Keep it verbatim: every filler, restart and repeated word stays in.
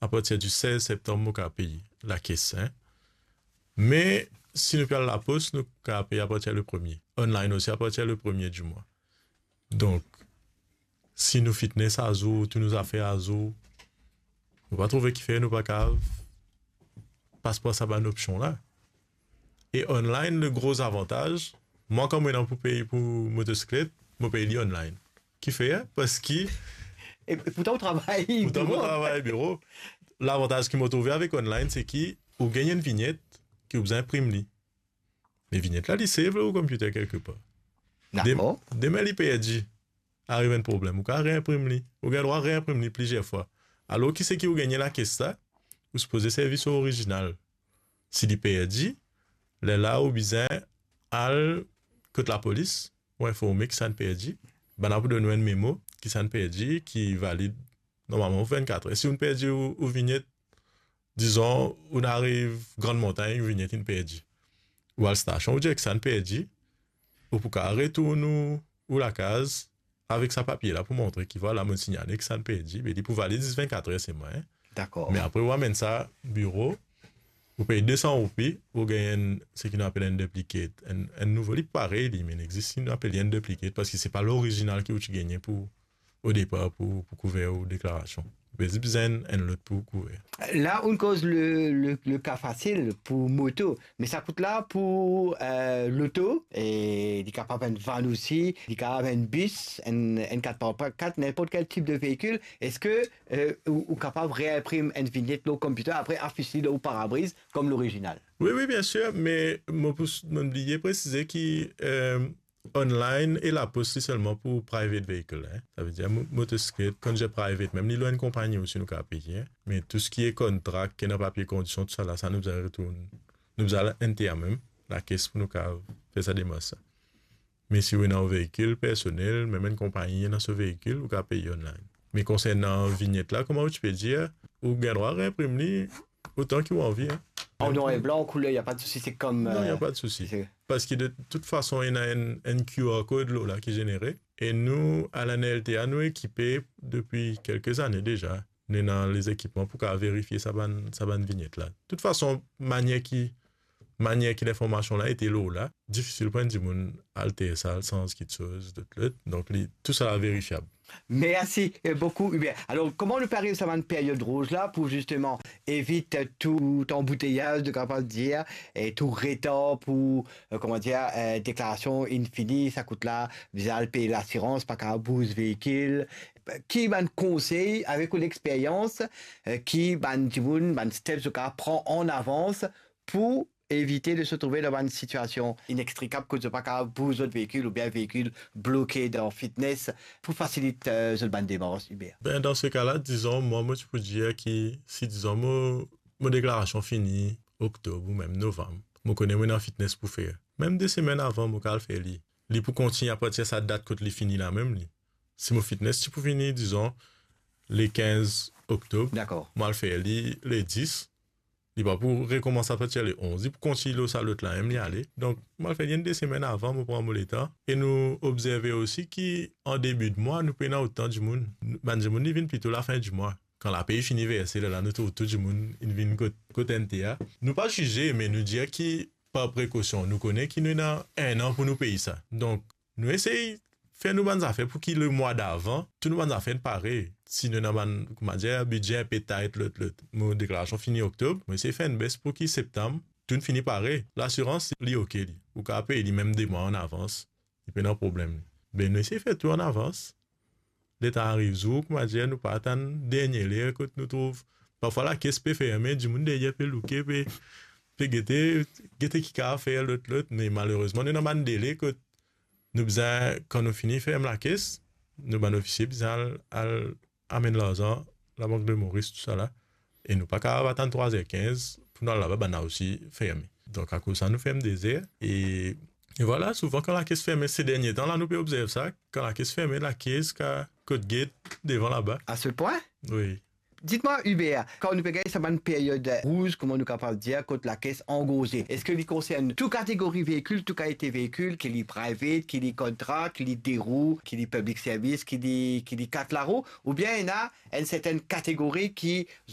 apartir di sez septanm, mo kapav pey lakes, hein. Me si nou pe al lapos, nou kapav pey apartir le premie. Online osi, apartir le premie di mwa. Donk, si nou fitness azour, tou nou zafer azour, mo pa trouve kifer nou pa kapav pas par sa bann opsion la. E online, le gro zavantaz, mwa kan mo ena pou pey pou motosiklet, mo pey li online. Kifer? Parski... E, e pourtan ou travay... Pourtan mo biro. Travay biro. Lavantaz ki mo trouve avek online, se ki ou gagn enn vinyet ki ou bizin inprim li. Me vinyet la, li save lor ou computer kelke par. Dakor. Dem-, demin li perdi, ariv enn problem, ou kapav reinprim li. Ou gagn drwa reinprim li plizier fwa. Alor, ki seki ou gagne lakes la, ou sipoze servi so orizinal. Si li perdi, lerla ou bizin al kot lapolis, ou informe ki sannla perdi. Bannla pou donn ou enn memo ki sannla perdi, ki valid normalman pou vennkat er. Si ou perdi ou, ou vinyet, dizon, ou ariv Grann Montagn, ou vinyet inn perdi. Ou al stasion, ou dir ki sannla perdi, ou pou kapav retourn ou, ou lakaz avek sa papie la pou montre ki, vwala, mo signale ki sannla perdi, be li pou valid zis vennkat er selman, hein. Dakor. Me apre, ou amenn sa biro, ou pey de san roupi, ou gagn enn, seki nou apel enn duplicate, enn, enn nouvo, li parey li, me inn existe, nou apel li enn duplicate, parski se pa lorizinal ki ou ti gagne pou, o depar pou, pou kouver ou deklarasion. Ou pe zis bizin enn lot pou kouver. La, ou koz le, le, le ka fasil pou moto, me sa kout la pou, euh, loto, e li kapav enn van osi, li kapav enn bis, enn, enn kat par kat, ninport kel tip de veikil. Eski, euh, ou, ou kapav reinprim enn vinyet lor computer, apre afis li lor parabriz kom lorizinal? Wi, wi, bien sir, me mo pou, mo bliye presize ki, euh, online e lapos li selman pou private vehicle, hein. Savedir mo-, motosiklet, kan dir private, mem li lor enn konpagni osi nou kapav peye, hein. Me tou seki e kontra, ki ena papie kondision, tou sa la, sa nou bizin retourn, nou bizin al inter mem, lakes pou nou kapav fer sa demars la. Me si ou ena ou veikil personel, mem enn konpagni ena so veikil, ou kapav peye online. Me konsernan vinyet la, kouma ou ti pe dir, ou gagn drwa reinprim li otan ki ou anvi, hein. Oh non, e blan, kouler, y a pas de souci, c'est comme, non, y a euh, pas de souci. C'est... Parski de tout fason, ena enn, enn Q R code lor la ki zenere. E nou, Alan L T A, nou ekipe depi kelke zane deza. Nou ena lezekipman pou kapav verifie sa bann, sa bann vinyet la. Tout fason, manier ki, manier ki linformasion la ete lor la, difisil pou enn dimoun alter sa, al sanz kitsoz, lot, lot. Donk, li, tou sa la verifiab. Mersi, euh, boukou, Hubert. Alor, kouma nou pe ariv sa bann period rouz la pou zisteman evit, euh, tou anbouteyaz, nou kapav dir, e tou retar pou, euh, kouma dir, euh, deklarasion inn fini, sa kout la, bizin al pey lasirans, pa kapav bouz veikil. Ki bann konsey, avek ou lexperyans, euh, ki bann dimoun, bann steps zot kapav pran an avans pou evite de se trouve dan bann sitiasion inextrikab kot zot pa kapav bouz zot veikil oubien veikil bloke dan fitness, pou fasilit, euh, zot bann demars, Hubert? Ben, dan se ka la, dizon, mwa, mo ti pou dir ki si, dizon, mo, mo deklarasion fini oktob ou mem novam, mo kone mo ena fitness pou fer. Mem de semenn avan, mo kapav al fer li. Li pou kontign apartir sa dat kot li fini la mem, li. Si mo fitness ti pou fini, dizon, le kinz oktob, dakor, mo al fer li le dis, li pa pou rekoumans apartir le onz, li pou kontign lor sa lot la mem, li ale. Donk, mo al fer li enn de semenn avan, mo pran mo letan. E nou obzerve osi ki an debi de mwa, nou pena otan dimoun. Bann dimoun, li vinn plito lafin di mwa. Kan lapey fini verse, lerla nou trouv tou dimoun inn vinn kot, kot N T A. Nou pa zize, me nou dir ki par prekosion, nou kone ki nou ena enn an pou nou pey sa. Donk, nou esey fer nou bann zafer pou ki le mwa davan, tou nou bann zafer inn pare. Si nou ena bann, kouma dir, bidze inpe tayt, lot, lot. Mo deklarasion fini oktob, mo esey fer enn bes pou ki septam, tou inn fini pare. Lasirans, li oke, li. Ou kapav pey li mem de mwa an avans. Li pena problem, li. Be, nou esey fer tou an avans. Letan ariv zour, kouma dir, nou pa atann dernie ler kot nou trouv. Parfwa lakes pe ferme, dimoun deryer pe louke, pe, pe gete, gete ki kapav fer, lot, lot. Me malerezman, nou ena bann dele kot nou bizin, kan nou fini ferm lakes, nou bann ofisie bizin al, al amenn larzan, Labank de Moris, tou sa la. E nou pa kapav atann trwa zer kinz pou nou al laba, bann la osi ferme. Donk, akoz sa, nou ferm de zer. E, e vwala, souvan kan lakes ferme, se dernie tan la, nou pe obzerv sa, kan lakes ferme, lakes ka kot get devan laba. À ce point? Wi. Dites-moi, Hubert, kan nou pe gagn sa bann period rouz, kouma nou kapav dir, kot lakes angorze, eski li konsern tou kategori veikil, tou kalite veikil, ki li private, ki li kontra, ki li de rou, ki li public service, ki li, ki li kat larou, oubien ena enn sertenn kategori ki zot